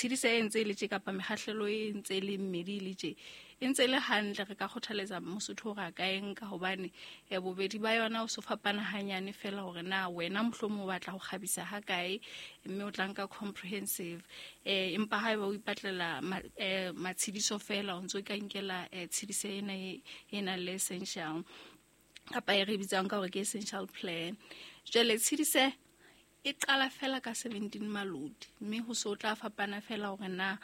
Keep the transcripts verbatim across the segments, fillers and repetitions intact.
Tshediso e ntse e le tje kapa mekgahlelo e ntse e le mmedi e le tje, e ntse e le hantle. Re ka kgothaletsa Mosotho hore a ka e nka hobane eh, bobedi ba yona o so fapana hanyane fela hore na wena mohlomong o batla ho kgabisa ha kae, mme o tla nka comprehensive. eh Empa haeba o ipatlela ma, eh, matshediso fela, o ntso ka nkela eh, tshediso ena e e nang le essential, kapa e re bitsang ka hore ke essential plan. Jwale tshedise e qala fela ka seventeen malodi, mme ho so tla fapana fela hore na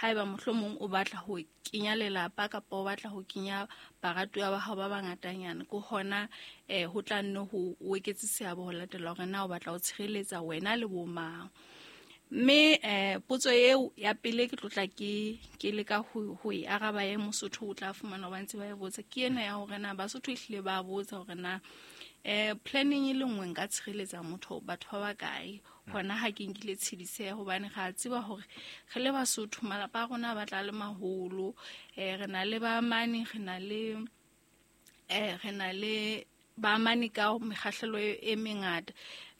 haeba mohlomong o batla ho kenya lelapa kapa o batla ho kenya baratuwa ba hao ba bangatanyana, ke hona eh ho tla nne ho o eketse seabo ho latela hore na o batla ho tshireletsa wena le bo mang. Mme eh potso eo ya pele ke tlotla ke ke leka ho ho e araba e Mosotho o tla fumana ba ntse ba e botsa, ke ena ya hore na Basotho ehlile ba botsa hore na eh planning e le nngwe nka tshireletsa motho batho ba bakae hona ha ke nkile tshediseho, hobane re a tseba hore re le Basotho malapa a rona a batla a le maholo. eh re na le ba mane, re na le eh re na le ba mane ka mekgahlelo e, e mengata,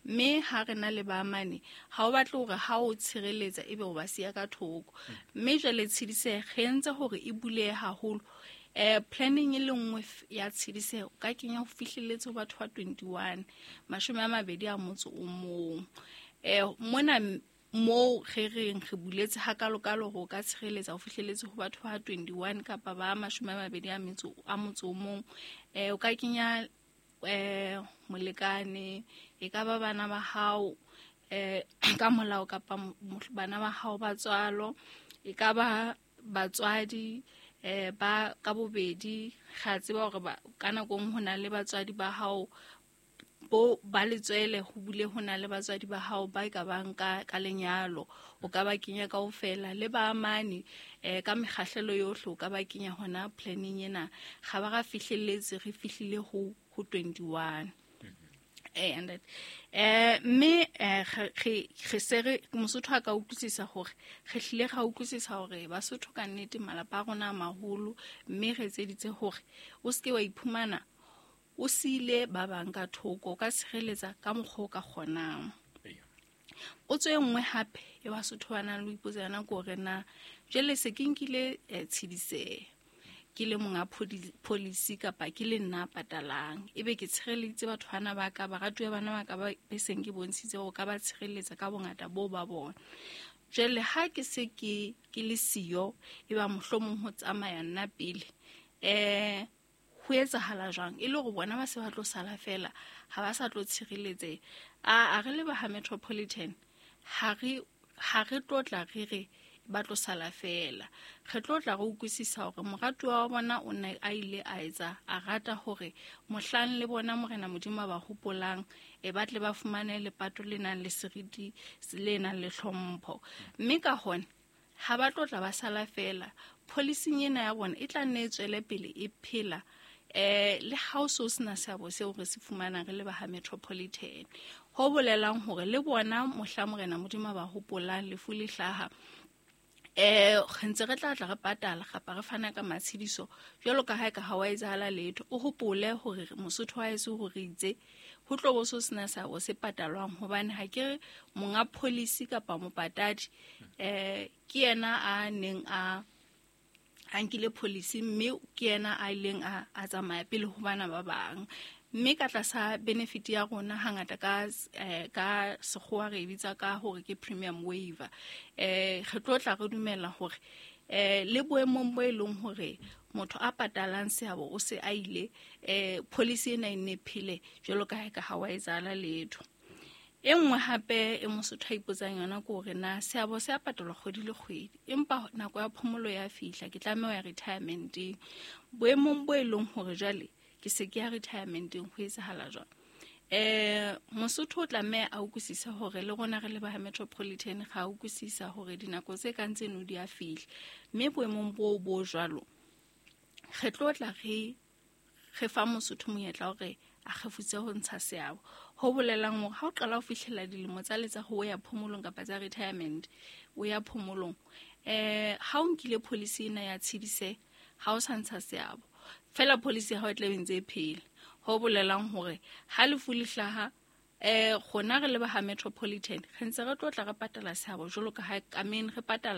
mme ha re na le ba mane ha o batle hore ha o tshireletsa ebe o ba siya ka thoko. Mme jwale tshediseho re entse hore e bulehe haholo. eh planning e le nngwe ya tshediseho ka kenya ho fihlelletse ho batho ba twenty-one, mashome a mabedi a motso o mong. eh mona moo re reng re buletse hakalokalo hore o ka tshireletsa ho fihlelletse ho batho ba twenty-one kapa ba mashome a mabedi a metso a motso o mong. eh o ka kenya eh molekane, e ka ba bana ba hao eh ka molao kapa bana ba hao ba tswalo, e ka ba batswadi eh ba ka bobedi. Ga tseba hore ba ka nako nngwe ho na le batswadi ba hao bo ba letswele, ho bule ho na le batswadi ba hao ba ka bang ka ka lenyalo, o ka ba kenya kaofela le ba amane eh ka mekgahlelo yohle, o ka ba kenya hona planning ena. Ga ba ra fihlelletse, re fihlile ho ho twenty-one. Eh and eh mme eh re re se re Mosotho a ka utlwisisa hore re hlile ra utlwisisa hore Basotho ka nnete malapa a rona a maholo, mme re etseditse hore o seke wa iphumana o siile ba bang ka thoko, o ka tshireletsa ka mokgwa o ka kgonang. Potso e nngwe hape e Basotho ba nang le ho ipotsa yona ke hore na jwale se ke nkile eh, tshediseho ke le monga policy kapa ke le nna patalang, ebe ke tshireleditse batho bana ba ka, baratuwa bana ba ka ba be seng ke bontshitse hore ka ba tshireletsa ka bongata boo ba bona. Jwale ha ke se ke ke le siyo, e ba mohlomong ho tsamaya nna pele, eh ho etsahala jwang e le hore bona ba se ba tlo sala fela, ha ba sa tlo tshireletseha? A a re le ba ha Metropolitan ha re ha re tlo tla re re ba tlo sala fela, re tlo tla re utlwisisa hore moratuwa wa bona o ne a ile a etsa a rata hore mohlang le bona Morena Modimo a ba hopolang, e ba tle ba fumane lepato le nang le seriti le nang le hlompho. Mme ka hona ha ba tlo tla ba sala fela, policing ena ya bona e tla nne e tswele pele e phela eh le ha o so sena seabo seo re se fumanang re le ba ha Metropolitan. Ho bolelang hore le bona mohla Morena Modimo a ba hopolang lefu le hlaha, eh re ntse re tla tla re patala kapa re fana ka matshediso jwalo ka ha e ka ha wa etsahala letho. O hopole hore Mosotho wa heso hore itse ho tlo bo so sena seabo se patalwang, hobane ha ke re monga policy kapa mopatadi eh ke yena a neng a a nkile policy, mme ke yena a ileng a a tsamaya pele ho bana ba bang. Mme ka tlasa benefit ya rona hangata ka eh, ka sekgowa re e bitsa ka hore ke premium waiver. Eh re tlo tla re dumela hore eh le boemong bo e leng hore motho a patalang seabo o se a ile, eh policy ena e nne phele jwalo ka ha e ka ha wa etsahala letho. E nngwe hape e Mosotho a ipotsang yona ke hore na seabo se a patalwa kgwedi le kgwedi, empa nako ya phomolo ya fihla, ke tlameha ho ya retirementeng. Boemong bo e leng hore jwale ke se ke ya retirementeng, ho etsahala jwang? Eh Mosotho o tlameha a utlwisise hore le rona re le ba Metropolitan ga utlwisisa hore dinako tse kang tseno di a fihla, mme boemong bo bo jwalo re tlo tla re re fa Mosotho monyetla hore a kgefutse ho ntsha seabo. Ho bolelang hore ha o qala ho fihlela dilemo tsa letsa ho ya phomolong kapa tsa retirement, o ya phomolong, eh ha o nkile policy ena ya tshedise, ha o sa ntsha seabo fela, policy ya hao e tla be ntse e phela. Ho bolelang hore ha lefu le hlaha, eh rona re le ba ha Metropolitan re ntse re tlo tla re patala seabo jwalo ka ha ka meng re patala